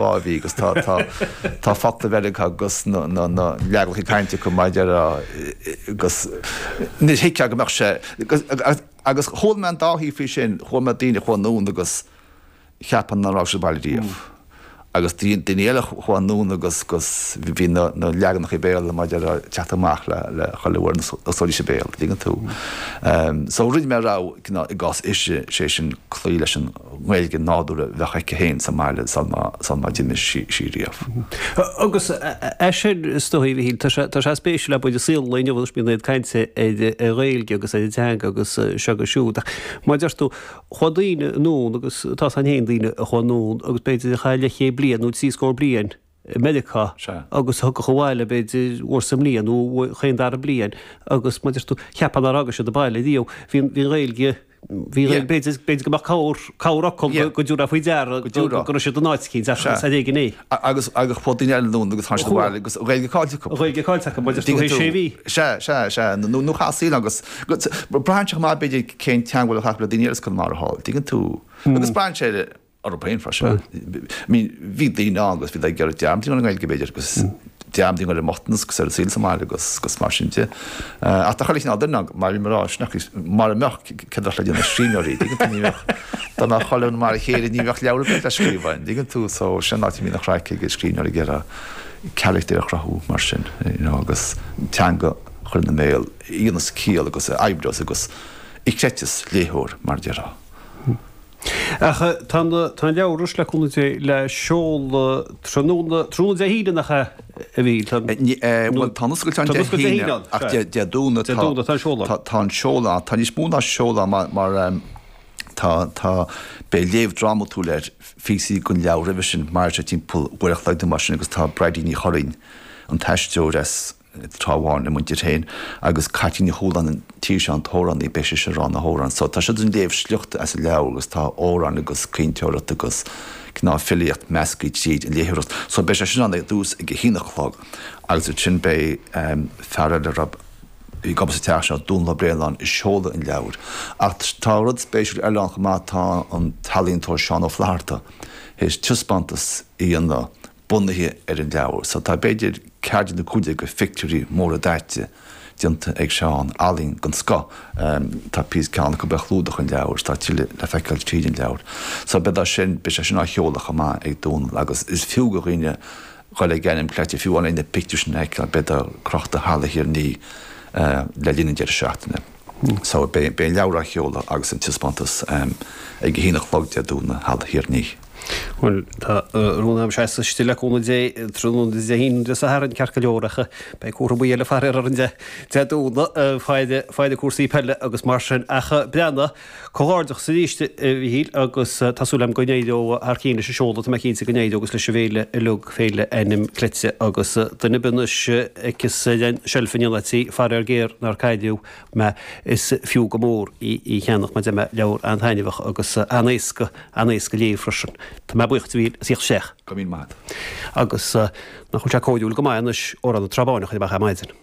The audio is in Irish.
A bhí agus tá tá tá focla Mheiriceá agus na na na leaganacha cainte acu mar a déarfá agus níor thuigfeá go mbeadh sé agus agus chuala mé an dá thaobh faoi sin, chuala mé daoine a chuaigh anonn agus cheap nach raibh siad abhaile riamh agus daoine eile a chuaigh anonn agus agus bhí na na leaganacha Béarla mar a déarfá ag teacht amach le le chuile uair a osclaídís a béal, dtuigeann tú. So rinne mé rogha i gcás ise, sé sin cloí leis an nGaeilge nádúrtha a bheadh aici féin sa mbaile sul má d'imigh sí riamh. Agus é sin, is dóigh, a Mhichíl, tá sé, tá sé spéisiúil abair i saol an lae inniu anois bíonn iad ag caint ar an Ghaeilge agus ar an teanga agus seo agus siúd ach mar a deir tú, chuaigh daoine anonn agus tá a fhios againn féin daoine a chuaigh anonn agus b'fhéidir a chaith leathchéad bliain nó 30 bliain i Meiriceá agus a thiocfadh abhaile b'fhéidir uair sa mbliain nó chaon dara bliain agus mar a deir tú, cheapfá nár fhága siad an baile riamh. Bhí an Ghaeilge, bhí an Ghaeilge, b'fhéidir, b'fhéidir go mbeadh corr, corrfhocal go dtabharfá faoi deara go raibh siad in áit eicínt ach is ar éigean é. Agus, agus chuaigh daoine eile anonn agus tháinig siad abhaile agus an Ghaeilge caillte acu. An Ghaeilge caillte acu, mar a deir tú, théis sé mhí. Sea, sea, sea, nó, nó chaith saol agus, braitheann sé chomh maith b'fhéidir cén teagmháil atá acu le daoine eile as Conamara thall, tuigeann tú. Agus braitheann sé orthu féin freisin. I mean, bhí daoine ann agus bhí ag iarraidh dearmad a dhéanamh ar an nGaeilge, b'fhéidir, agus dearmad a dhéanamh ar an mbochtanas agus ar an saol sa mbaile agus agus mar sin de. Ach tá chuile chineál duine ann, mar bhí mé ag rá, sin ach mara mbeadh, céard a bheadh le déanamh ag scríbhneoirí, dtuigeann tú, ní bheadh, dá mbeadh chuile dhuine mar a chéile, ní bheadh leabhar ar bith le scríobh ann, dtuigeann tú, so sin an áit a mbíonn an chraic ag scríbhneoirí ag iarraidh carachtair a chruthú mar sin, you know, agus teanga a chur ina mbéal a dhéanfas ciall agus a oibreos agus a chreidfeas léitheoir, mar a déarfá. Ach tá an leabhar anois, le cúnamh Dé, le seoladh tráthnóna, tráthnóna Dé hAoine nach ea, a Mhíchíl? Tá, bhuel, tá an oscailt ann Dé hAoine ach Dé Domhnaigh tá, tá an seoladh. Tá an seoladh ann. Tá níos mó ná seoladh ann mar, mar tá, tá, beidh léamh drámatúil ar phíosaí den leabhar roimhe sin, mairfidh sé timpeall uair a chloig nó mar sin agus tá Bridie Ní Churraoin, an t-aisteoir as, Trá Bháin a muintir féin agus Caitlín Ní Chualáin an tír seo an t-amhránaí, beidh sise ag rá na hamhráin. So tá siad ag léamh sliochta as an leabhar agus tá amhráin agus caointeoireacht agus cineál filíocht measctha tríd an léitheoireacht. So beidh sé sin ann ar dtús ag a haon a chlog agus ansin beidh fear eile a raibh ag obair sa teach seo, Dónal Ó Braonáin, ag seoladh an leabhair. Ach tá rud spéisiúil eile ann chomh maith, tá an t-ealaíontóir Seán Ó Flatharta théis taispeántas a dhéanamh bunaithe ar an leabhar. So tá b'fhéidir 14 nó 15 de phictiúirí móra daite déanta ag Seán, ealaín den scoth. Tá píosa ceann acu ar chlúdach an leabhair, tá tuilleadh le feiceáil tríd an leabhar. So beidh sin, beidh sé sin á sheoladh chomh maith ag Dónal agus is fiú do dhaoine dhul ag Ainm Cleite, fiú amháin na pictiúir sin a fheiceáil, beidh crochta i Halla Thír an Fhia le linn an deireadh seachtaine. So beidh an leabhar á sheoladh agus an taispeántas ag a haon a chlog Dé Domhnaigh i Halla Thír an Fhia. Bhuel, tá rún agam seasamh istigh le cúnamh Dé tráthnóna Dé hAoine nó Dé Sathairn ceart go leor ach beidh cúramaí eile faraor orainn Dé Domhnaigh, faire faire cúrsaí peile agus mar sin ach breathnaigh, comhghairdeachas arís a Mhichíl agus tá súil agam go n-éireoidh thar cinn leis an seoladh, tá mé cinnte go n-éireoidh agus leis an bhféile uilig, Féile Ainm Cleite agus duine ar bith anois a fheicfeas ar an tseilf in aon áit í, faraor géar nár cailleadh mé, is fiú go mór í a cheannach mar deir mé, leabhar an-taitneamhach agus an-éasca, an-éasca a léamh freisin. Tá mé buíoch díot a Mhíchíl as ucht isteach. Go raibh míle maith agat. Agus nach bhfuil sé cóiriúil go maith anois Amhrán na Trá Báine a chur amach ar maidin.